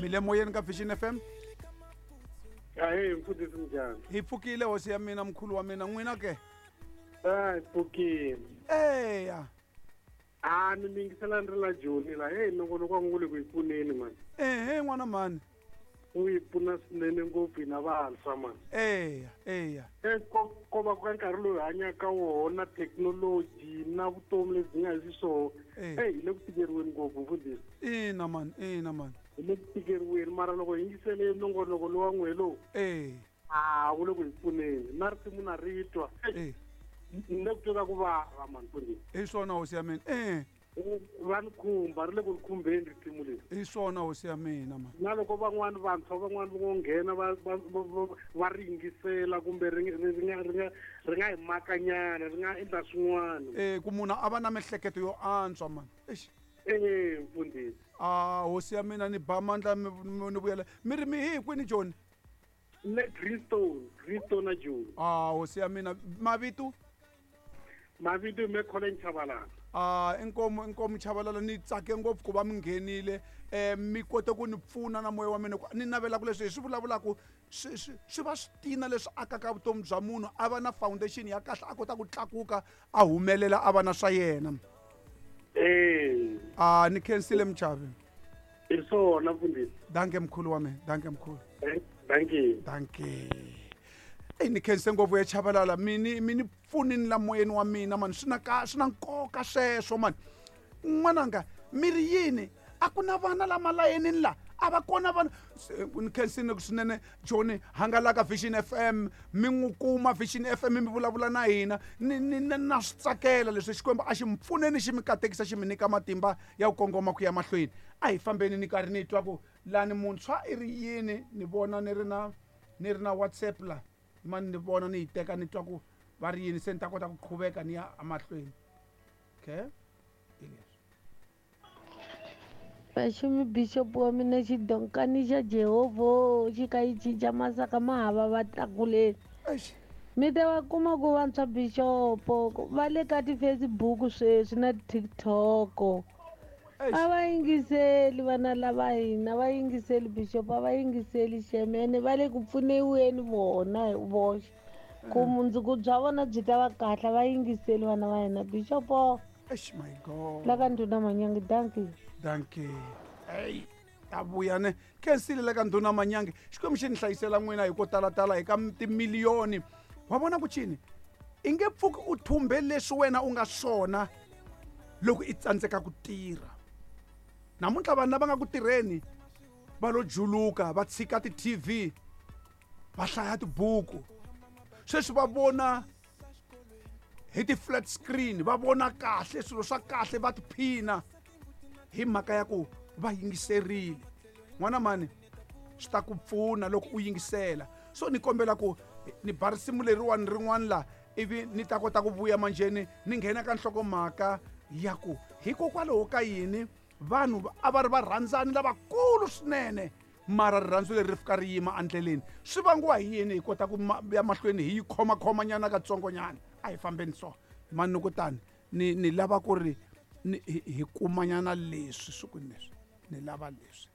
Mi le moyeni ka Vision FM. Ahee mfundhisi, minjhani? Hi pfukile hosi ya mina, mkhulu wa mina, n'wina ke? A hi pfukile. Eya. A ni mi yingisela ni ri la Joni la. Heyi, nongonoko wa n'wina wu le ku hi pfuneni mani. Ehe n'wana mhani. Wu hi pfuna swinene ngopfu hina vantshwa mani. Eya, eya. E ko ko va ka nkarhi lowu hi hanyaka ka wona na thekinoloji na vutomi lebyi nga hi xiswona. Eyi, hi le ku tikeriweni ngopfu mfundhisi. Ina mani, ina mani. Hi le ku tikeriweni mara loko hi yingisele nongonoko lowa n'we lowu. A wu le ku hi pfuneni na risimu na ri twa. Ni le ku twa ka ku vava mani mfundhisi. Hi swona hosi ya mina. Va ni khumba, ri le ku ni khumbeni risimu leri. Hi swona hosi ya mina mani. Na loko van'wani vantshwa van'wani va ngo nghena va va va va ri yingisela kumbe ri ri ri nga ri nga ri nga hi makanyana, ri nga endla swin'wana. Ku munhu a va na miehleketo yo antswa mani. Eish. Ee mfundhisi. A hosi ya mina, ni ba mandla ni vuyela. Mi ri mi hi kwini Joni? Le Greenstone, Greenstone na Joni. A hosi ya mina, mavito? Mavito me Colin Chabalala. A inkomu, inkomu Chabalala, ni tsake ngopfu ku va mi nghenile. Mi kote ku ni pfuna na moya wa mina, ni navela ku leswi hi swi vulavulaka swi swi swi va switina leswi akaka vutomi bya munhu, a va na foundation ya kahle, a kota ku tlakuka, a humelela, a va na swa yena. A ni khensile muchavi. Hi swona mfundhisi. Danke mkhulu wa mina, danke mkhulu. Danke. Danke. Eyi, ni khense ngopfu ya Chabalala, mi ni pfunini la moyeni wa mina mani, swi na ka swi na nkoka sweswo mani. N'wananga, mi ri yini? A ku na vana la malayenini la, a va kona vana. Ni khensile swinene Joni, hangalaka Vision FM, mi n'wi kuma Vision FM, mi vulavula na hina. Ni ni na swi tsakela leswi. Xikwembu a xi mi pfuneni, xi mi katekisa, xi mi nyika matimba ya ku kongoma ku ya mahlweni. A hi fambeni, ni karhi ni twa ku lani muntshwa i ri yini. Ni vona ni ri na ni ri na WhatsApp la, mani ni vona ni yi teka ni twa ku va ri yini, se ni ta kota ku qhuveka ni ya emahlweni. Okay, hi leswi. Vaxumi bishop wa mina, xidonkani xa Jehovha xi ka yi cinca masaka ma hava va tlakuleni. Mi ta va kuma ku vantshwa bishop va le ka ti-Facebook sweswi na TikTok. A va yingiseli vana lava hina, va yingiseli bishop, a va yingiseli xemene, va le ku pfuniweni vona hi voxe. Ku mundzuku bya vona byi ta va kahle, va yingiseli vana va hina bishop. Eish, my God. La ka Ndhuna Manyangi, dankie. Dankie. Hey, ta vuya ne. Khensile la ka Ndhuna Manyangi. Xikwembu xi ni hlayisela n'wina hi ko talatala hi ka timiliyoni. Wa vona ku cini? I nge pfuki u thumbe leswi wena u nga swona loko i tsandzeka ku tirha. Namuntlha vanhu lava nga ku tirheni va lo juluka, va tshika ti-TV, va hlaya tibuku. Sweswi va vona hi ti-flat screen, va vona kahle swilo swa kahle, va tiphina hi mhaka ya ku va yingiserile. N'wana mani, swi ta ku pfuna loko u yingisela. So ni kombela ku ni ba risimu leriwani rin'wana la, ivi ni ta kota ku vuya manjheni ni nghena ka nhlokomhaka ya ku hikokwalaho ka yini vanhu a va ri varhandzani lavakulu swinene, mara rirhandzu leri ri fika ri yima endleleni. Swi vangiwa hi yini? Hi kota ku ya mahlweni hi yi khomakhomanyana katsongonyana. A hi fambeni so manukutani, ni lava ku ri ni hi kumanyana leswi swi ku leswi ni lava leswi.